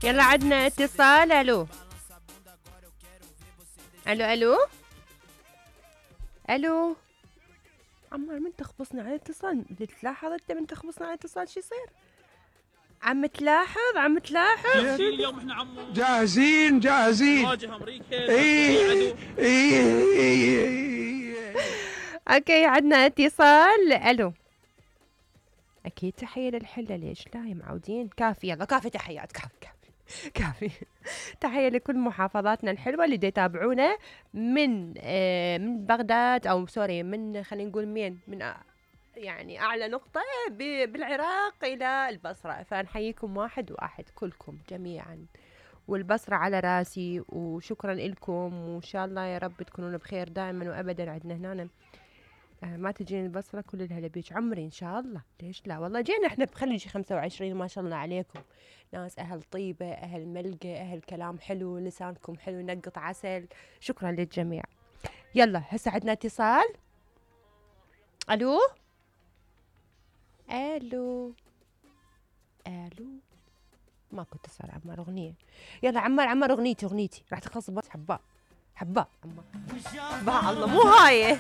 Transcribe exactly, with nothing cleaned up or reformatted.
يلا عدنا اتصال. الو الو الو الو عمار من تخبصنا على الاتصال؟ تلاحظ انت من تخبصنا على الاتصال شو يصير؟ عم تلاحظ عم تلاحظ جاهزين اليوم احنا عمو، جاهزين جاهزين نواجه امريكا ايه عدو. ايه. اوكي عدنا اتصال. الو اكيد تحية للحلة، ليش لا يا معودين؟ كافي يلا كافي تحيات، كافي كافي كافي. تحية لكل محافظاتنا الحلوة اللي يتابعونا من آه من بغداد او سوري من خلينا نقول مين من آه يعني اعلى نقطة بالعراق الى البصرة، فنحييكم واحد واحد كلكم جميعا، والبصرة على راسي، وشكرا لكم، وإن شاء الله يا رب تكونون بخير دائما وأبدا. عندنا هنا آه ما تجيني البصرة كل الهلا بيج عمري إن شاء الله، ليش لا والله جينا إحنا بخليجي خمسة وعشرين ما شاء الله عليكم، ناس أهل طيبة أهل ملقى أهل كلام حلو، لسانكم حلو نقط عسل. شكرا للجميع. يلا هسه عندنا اتصال. ألو ألو ألو ماكو اتصال. عمار اغنيه، يلا عمار عمار اغنيتي اغنيتي راح تخلص بس حباء حباء عمار. الله مو هاي